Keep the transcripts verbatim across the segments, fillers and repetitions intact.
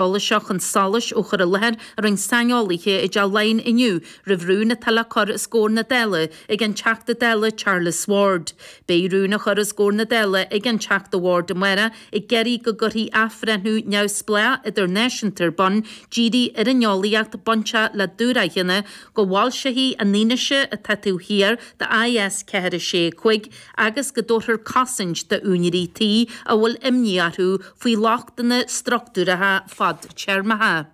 eolas seo chun solais ó chur i láthair a rinne saineolaithe i dTeach Laighean inniu roimh rún atá le cur os comhair na Dála ag an Teachta Dála Charles Ward. Beidh rún á chur os comhair na Dála ag an Teachta Ward amárach ag iarraidh go gcuirfí athbhreithniú neamhspleách idirnáisiúnta ar bun dírithe ar an eolaíocht bainteach le dúshrathanna, go bhfoilseofaí an fhianaise atá taobh thiar de I S ceathair a sé cúig agus go dtabharfar cosaint d'úinéirí tí a bhfuil imní orthu faoi lochtanna struchtúracha fadtéarmacha.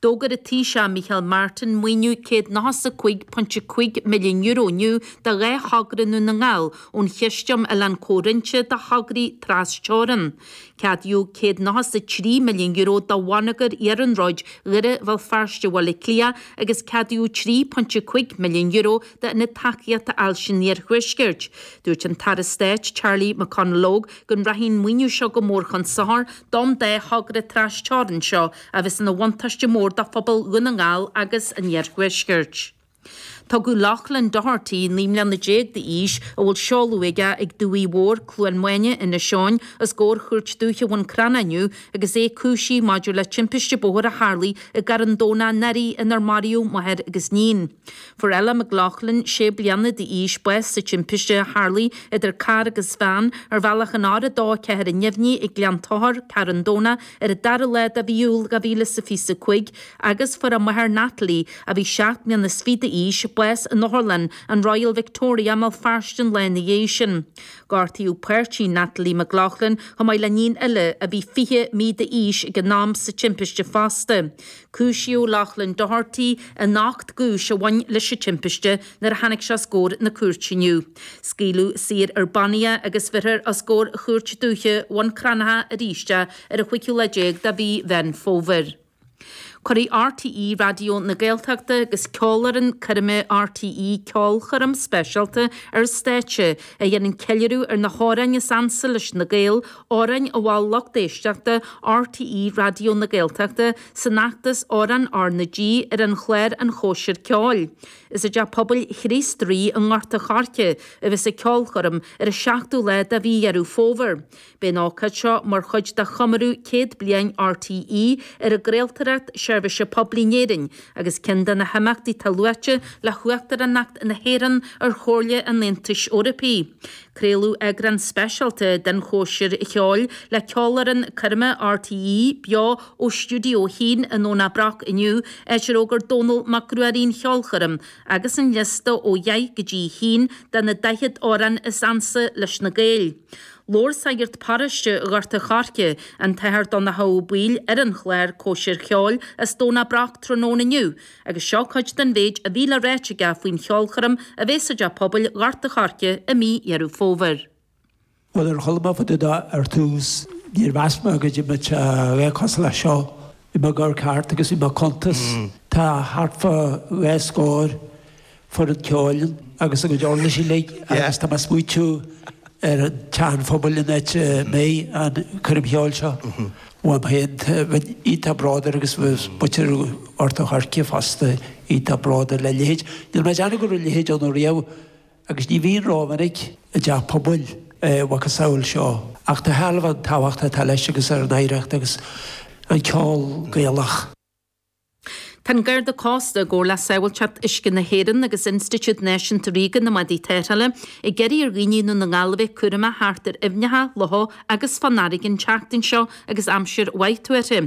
D'fhógair an Taoiseach Micheál Martin maoiniú céad nócha is a cúig pointe cúig milliún euro inniu do dhá thogra i nDún na nGall ón Chiste um Oileán Comhroinnte do thograí tras-teorann. Ceadaíodh céad nócha is a trí milliún euro do bhonneagar iarnróid Dhoire Bhéal Feirste Bhaile Átha Cliath agus ceadaíodh trí pointe cúig milliún euro d'Ionad Tacaíochta Ailse an Iarthuaiscirt. Dúirt an tAire Stáit Charlie McConalogue go rachaidh an maoiniú seo go mór chun sochair don dá thogra tras-teorann seo a bheas ina bhuntáiste mór do phobal Dhún na nGall agus an Iarthuaiscirt. Tugadh Loughlin Doherty, naoi mbliana déag d'aois, a bhfuil seoladh aige ag Dumhaigh Mhór, Cluain Maine, Inis Eoghain, os comhair Chúirt Dúiche Bhun Cranncha inniu agus é cúisithe maidir le timpiste bóthair a tharlaigh i gCarn Domhnach anuraidh inar maraíodh máthair agus níon. Fuair Ella McLaughlin, sé bliana d'aois, bás sa timpiste a tharlaigh idir carr agus veain ar bhealach an R a dó ceathair neamhní ag Gleann Tóchair, Carn Domhnach, ar an dara lá de mhí Iúil dhá mhíle is a fiche a cúig agus fuair a máthair Natalie, a bhí seacht mbliana is fiche d'aois, bás in otharlann an Royal Victoria i mBéal Feirste an lá ina dhiaidh sin. Gortaíodh páirtí Natalie McLaughlin chomh maith le níon eile a bhí fiche mí d'aois ag an am sa timpiste fosta. Cúisíodh Loughlin Doherty in ocht gcúis a bhain leis an timpiste nuair a tháinig sé os comhair na cúirte inniu. Scaoileadh saor ar bannaí é agus bheirfear os comhair Chúirt Dúiche Bhun Cranncha arís é ar an chúigiú lá déag de mhí Mheán Fómhair. Cuirfidh R T E Raidió na Gaeltachta agus Ceolfhoireann Coirme R T E ceolchoirm speisialta ar stáitse a dhéanann ceiliúradh ar na hamhráin is ansa leis na Gaeil, amhráin a mhol lucht éisteachta R T E Raidió na Gaeltachta san fheachtas Amhrán R na G ar an chlár An Chóisir Ceoil. Is i dTeach Pobail Chríost Rí i nGort an Choirce a bheas an ceolchoirm ar an seachtú lá de mhí Dheireadh Fómhair. Beidh an ócáid seo mar chuid de chomóradh céad bliain R T E ar an gcraoltóireacht seirbhíse poiblí in Éirinn agus ceann de na himeachtaí atá luaite le hUachtaránacht na hÉireann ar Chomhairle an Aontais Eorpaigh. Craoladh eagrán speisialta den chóisir cheoil le ceolfhoireann coirme R T E beo ó Stiúideo a haon i nDomhnach Broc inniu, áit ar fhógair Dónall Mac Ruairí an cheolchoirm agus an liosta ó dheich go dtí haon de na daichead amhrán is ansa leis na Gaeil. Labhair sagart paróiste Ghort an Choirce, an tAthair Donncha Ó Baoill, ar an chlár Cóisir Cheoil as Domhnach Broc tráthnóna inniu, agus seo cuid den mhéid a bhí le ráit aige faoin cheolchoirm a bheas i dTeach Pobail Ghort an Choirce i mí Dheireadh Fómhair. Bhuel, ar chuala mé fá dtaobh ar tús, níor mheas mé go mbeadh sé bheith cosúil leis seo. Bhí mé ag amharc thart agus bhí mé ag cuntas. Tá thart fá dhá scór foireann ceoil agus a gcuid uirlisí uilig agus tá mé ag smaoitiú ar an teach an phobail in áit a mbeidh an choirm cheoil seo. Uaim féin, bheinn iontach bródúil agus bheadh muintir Ghort an Choirce fosta iontach bródúil le leithéid. Níl mé ag déanamh go raibh a leithéid ann riamh agus ní bhíonn rómhinic i dteach pobail macasamhail seo. Ach tá shealbh an tábhacht atá leis agus ar an oidhreacht agus an ceol Gaelach. Tá an Garda Cósta i gcomhar le Sábháilteacht Uisce na hÉireann agus Institiúid Náisiúnta Ríoga na mBádaí Tarrthála ag iarraidh ar dhaoine i nDún na nGall a bheith cúramach thart ar aibhneacha, locha agus fán fharraige an tseachtain seo agus aimsir mhaith tuartha.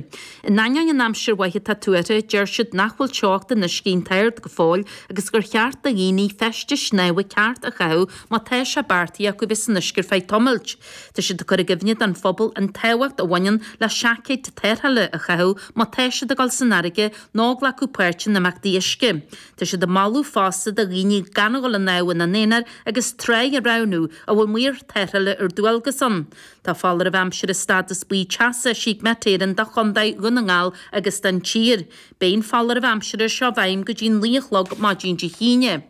In ainneoin an aimsir mhaith atá tuartha, deir siad nach bhfuil teocht an uisce iontach ard go fóill agus gur cheart do dhaoine feistis snámha ceart a chaitheamh má tá sé beartaithe acu bheith san uisce ar feadh tamaill. Tá siad ag cur i gcuimhne don phobal an tábhacht a bhaineann le seaicéid tarrthála a chaitheamh má tá siad ag dul san fharraige nó ag glacadh páirt in imeachtaí uisce. Tá siad ag moladh fosta do dhaoine gan a dhul ag snámh ina n-aonar agus tráigh a roghnú a bhfuil maor tarrthála ar dualgas ann. Tá foláireamh aimsire stádas buí teasa eisithe ag Met Éireann do Chontae Dhún na nGall agus don tír. Beidh an foláireamh aimsire seo i bhfeidhm go dtí naoi a chlog maidin Dé hAoine.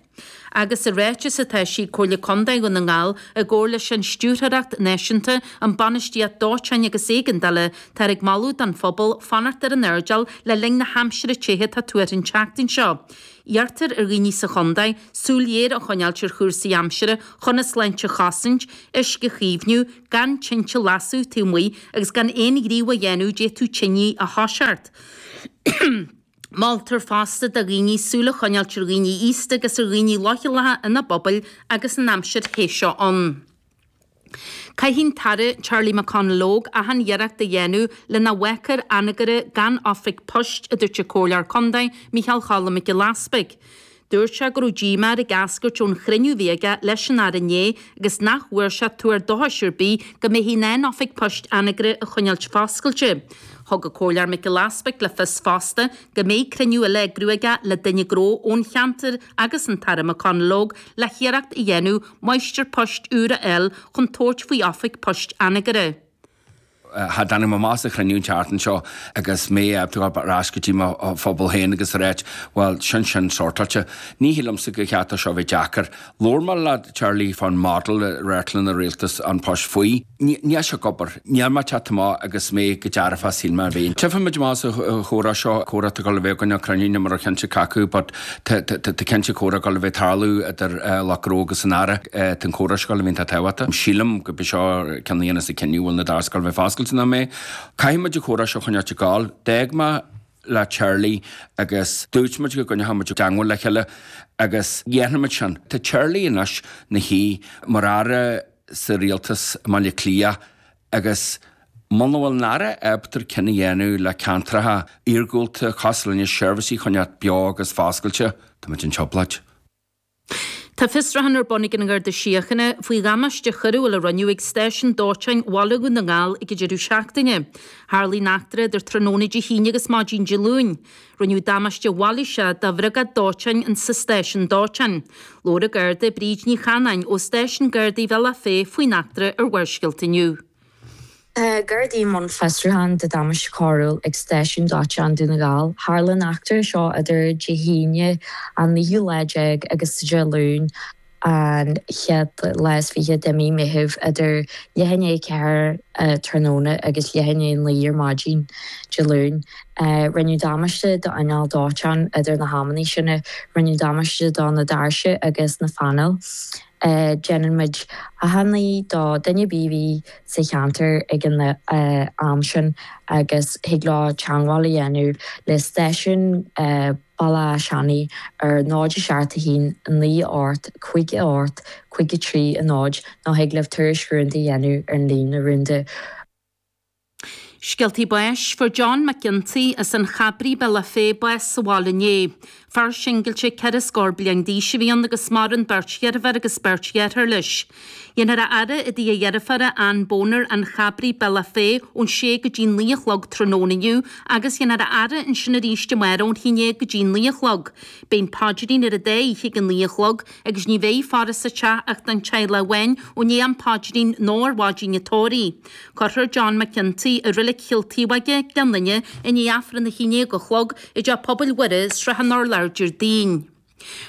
Agus i ráiteas atá eisithe ag Comhairle Contae Dhún na nGall i gcomhar leis an Stiúrthóireacht Náisiúnta um Bainistíocht Dóiteáin agus Éigeandála, táthar ag moladh don phobal fanacht ar an airdeall le linn na haimsire te atá tuartha an tseachtain seo. Iarrtar ar dhaoine sa chontae súil ghéar a choinneáilt ar chúrsaí aimsire chun a sláinte a chosaint, uisce a chaomhnú, gan tinte a lasadh taobh amuigh agus gan aon ghníomh a dhéanamh d'fhéadfadh tine a thoiseacht. Moltar fosta do dhaoine súil a choinneáilt ar dhaoine aosta agus ar dhaoine leochaileacha ina bpobail agus an aimsir the seo ann. Caithfidh an tAire Charlie McConalogue achan iarracht a dhéanamh le nach bhfágfar Anagaire gan oifig poist, a dúirt an Comhairleoir Contae Micheál Cholm Mac Giolla Easpaig. Dúirt sé go raibh díomá air ag eascairt ón chruinniú a bhí aige leis an Aire inné agus nach bhfuair sé tuar dóchais ar bith go mbeifí in ann oifig poist Anagaire a choinneáilt foscailte. Thug an Comhairleoir Mac Giolla Easpaig le fios fosta go mbeidh cruinniú eile á eagrú aige le duine gnó ón cheantar agus an tAire McConalogue le hiarracht a dhéanamh máistir poist úr a fháil chun tabhairt faoi oifig poist Anagaire. Cha dtáinig mé amach as an chruinniú an tseachtain seo agus mé ábalta dul ar ais go dtí mo phobal féin agus a ráit, bhuel, sin sin sortáilte. Ní shílimse gur cheart dó seo bheith deacair. Labhair mé le Charlie fán model a radharclann an Rialtas an Poist faoi. Níl sé ag obair. Níl mé ag teacht amach agus mé go dearfach shíl mé a bhí. Tchífimid amach sa chomhrá seo, comhrá atá ag dul a bheith againn ná cruinniú ní mar chinnte cé acu but tá cinnte comhrá ag dul a bheith ag tarlú idir lucht gnó agus an Aire. Tá an comhrá seo ag dul a bheith iontach tábhachtach. Sílim go b'é seo ceann a dhéanfas an cinneadh bhfuil na doirse ag dul a bheith foscailte nó mé. Caithfidh muid an comhrá seo a choinneáilt ag gabháil. D'fhág mé le Charlie agus dúirt muid go gcoinneoidh muid i dteangmháil le chéile agus dhéanfaidh muid sin. Tá Charlie anois ina shuí mar aire sa rialtas i mBaile Átha Cliath agus muna bhfuil an Aire ábalta cinneadh a dhéanamh le ceantracha iargúlta cosúil linne seirbhísí a choinneáilt beo agus foscailte, tá muid in trioblóid. Tá fiosrúchán ar bun ag an nGarda Síochána faoi dhamáiste choiriúil a rinneadh ag stáisiún dóiteáin Bhaile Dhún na nGall ag an deireadh seachtaine. Tharlaigh an eachtra idir tráthnóna Dé hAoine agus maidin Dé Luain. Rinneadh damáiste mhailíseach do bhriogáid dóiteáin insa stáisiún dóiteáin. Labhair an Garda Bríd Ní Chanáin ó Stáisiún Gardaí Bhealach Féich faoin eachtra ar Bharrscéalta inniu. Tá Gardaí i mbun fiosrúcháin de damáiste coiriúil ag Stáisiún Dóiteáin Dún na nGall. Tharla an eachtra seo idir Dé hAoine an naoú lá déag agus Dé Luain an chéad lá is fiche de mí Meitheamh idir leath i ndiaidh a ceathair tráthnóna agus leath i ndiaidh a naoi ar maidin Dé Luain. Rinneadh damáiste d'inneall dóiteáin idir na hamanna sin, rinneadh damáiste do na doirse agus na phainéil. Déanann muid achainí do duine ar bith a bhí sa cheantar ag an am sin agus thig leo teagmháil a dhéanamh le stáisiún Bhaile Átha Seanaidh ar náid a seacht a haon naoi ocht cúig a hocht cúig a trí a náid nó thig libh tuairisc rúnda a dhéanamh ar an líne rúnda. Scéaltaí báis, Fuair John McGinty as an Chabraigh, Bealach Féich, bás sa bhaile inné. Fear singilte ceithre scór bliain d'aois a bhí ann agus maireann beirt dheirfiúr agus beirt dheartháir leis. Dhéanfar a fhaire i dtigh a dheirféara Ann Boner, An Chabraigh, Bealach Féich, ón sé go dtí naoi a chlog tráthnóna inniu agus dhéanfar a fhaire ansin arís amárach ón haon déag go dtí naoi a chlog. Beidh an paidrín ar an dá oíche ag a naoi a chlog agus ní bheidh faire sa teach ach don teaghlach amháin ó i ndiaidh an phaidrín nó ar mhaidin an tórraimh. Cuirfear John McGinty i Reilig Chill Taobhóige, Gleann Fhinne, i ndiaidh Aifreann a haon déag a chlog i dTeach Pobail Mhuire, Srath an Urláir, Déardaoin.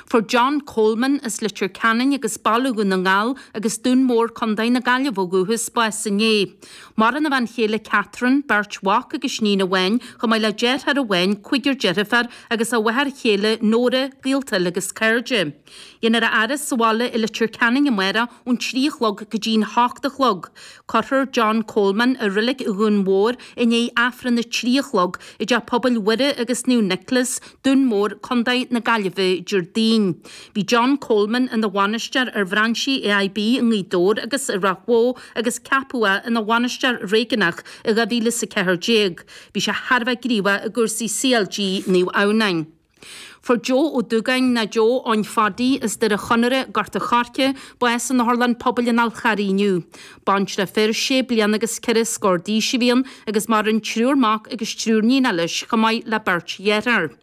Fuair John Coleman as Leitir Ceanainn agus Baile Dhún na nGall agus Dún Mór, Contae na Gaillimhe ó dhúchas, bás inné. Maireann a bhean chéile Catherine, beirt mhac agus iníon amháin, chomh maith le deartháir amháin, cúigear deirfiúr agus a mháthair chéile Nóra, gaolta agus cairde. Dhéanfar a fhaire sa bhaile i Leitir Ceanainn amárach ón trí a chlog go dtí'n hocht a chlog. Cuirfear John Coleman i Reilig Dhún Mhór i ndiaidh Aifreann a trí a chlog i dTeach Pobail Mhuire agus Naomh Nioclás, Dún Mór, Contae na Gaillimhe, Déardaoin. Bhí John Coleman ina bhainisteoir ar bhrainsí AIB i nGaoth Dobhair agus i Ráth Bhoth agus ceapadh é ina bhainisteoir réigiúnach i dhá mhíle is a ceathair déag. Bhí sé thar a bheith gníomhach i gcúrsaí CLG Naomh Adhamhnáin. Fuair Joe Ó Dúgáin nó Joe Eoin Phaddy as Doire Chonaire, Gort a' Choirce, bás in Otharlann Pobail an Fhál Charraigh inniu. Baintreach fir sé bliana agus ceithre scór d'aois a bhí ann agus maireann triúr mac agus triúr níon leis chomh maith le beirt dhearthár.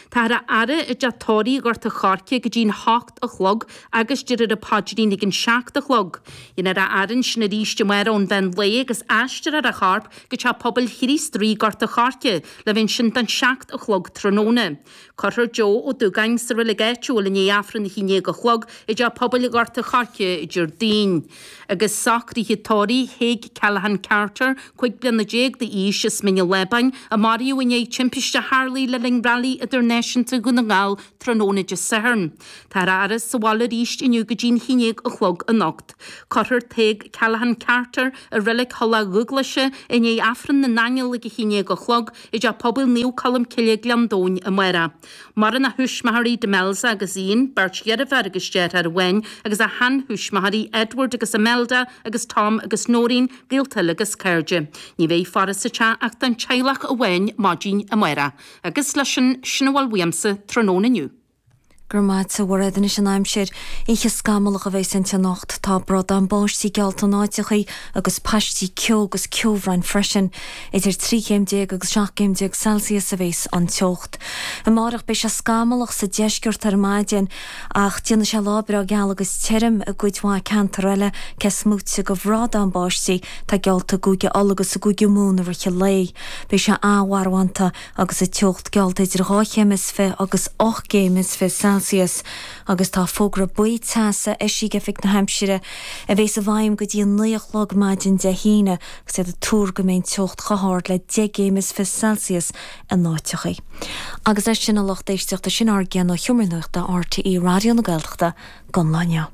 Táthar á fhaire i dteach tórraimh Ghort a' Choirce go dtí'n hocht a chlog agus déarfar an paidrín ag an seacht a chlog. Dhéanfar a fhaire ansin arís amárach ón mheán lae agus aistreofar a chorp go Teach Pobail Chríost Rí Gort a' Choirce le bheith ansin don seacht a chlog tráthnóna. Cuirfear Joe Joe Ó Dúgáin sa reilig áitiúil i ndiaidh Aifreann a haon déag a chlog i dTeach Pobail Ghort a' Choirce Déardaoin. Agus socruithe tórraimh Thaidhg Callaghan Carter, cúig bliana déag d'aois as Mín an Lábáin, a maraíodh i ndiaidh timpiste a tharlaigh le linn Railí Idirnáisiúnta Dhún na nGall tráthnóna Dé Sathairn. Táthar á fhaire sa bhaile arís inniu go dtí'n haon déag a chlog anocht. Cuirfear Tadhg Callaghan Carter i Reilig Thulach Dhúglaise i ndiaidh Aifreann na nAingeal ag a haon déag a chlog i dTeach Pobail Naomh Colm Cille Gleann Domhain amárach. Maireann a thuismitheoirí Demelza agus Ian, beirt dheirféar agus deartháir amháin, agus a sheanthuismitheoirí Edward agus Imelda agus Tom agus Noreen, gaolta eile agus cairde. Ní bheidh faire sa teach ach don teaghlach amháin maidin amárach. Agus leis sin, sin a bhfuil uaimse tráthnóna inniu. Go raibh maith agat a Mhairéad. Anois an aimsir. Oíche scamallach a bheas inti anocht. Tá bradán báistí geallta in áiteachaí agus paistí ceo agus ceobhráin freisin. Idir trí chéim déag agus seacht gcéim déag Celsius a bheas an teocht. Amárach beidh sé scamallach sa deisceart ar maidin ach déanfaidh sé lá breá geal agus tirim i gcuid mhaith ceantar eile, cé is móite de bhradán báistí atá geallta i gCúige Uladh agus i gCúige Mumhan i rith an lae. Beidh sé an-mharbhánta agus an teocht geallta idir dhá chéim is fiche agus ocht gcéim is fiche Celsius agus tá fógra buí teasa eisithe ag Oifig na hAimsire a bheas i bhfeidhm go dtí a naoi a chlog maidin Dé hAoine agus iad ag tuar go mbeidh an teocht chomh hard le deich gcéim is fiche Celsius in áiteachaí. Agus leis sin a lucht éisteachta sin ár gcéanna ó Sheomra Nuachta RTÉ Raidió na Gaeltachta don lá inniu.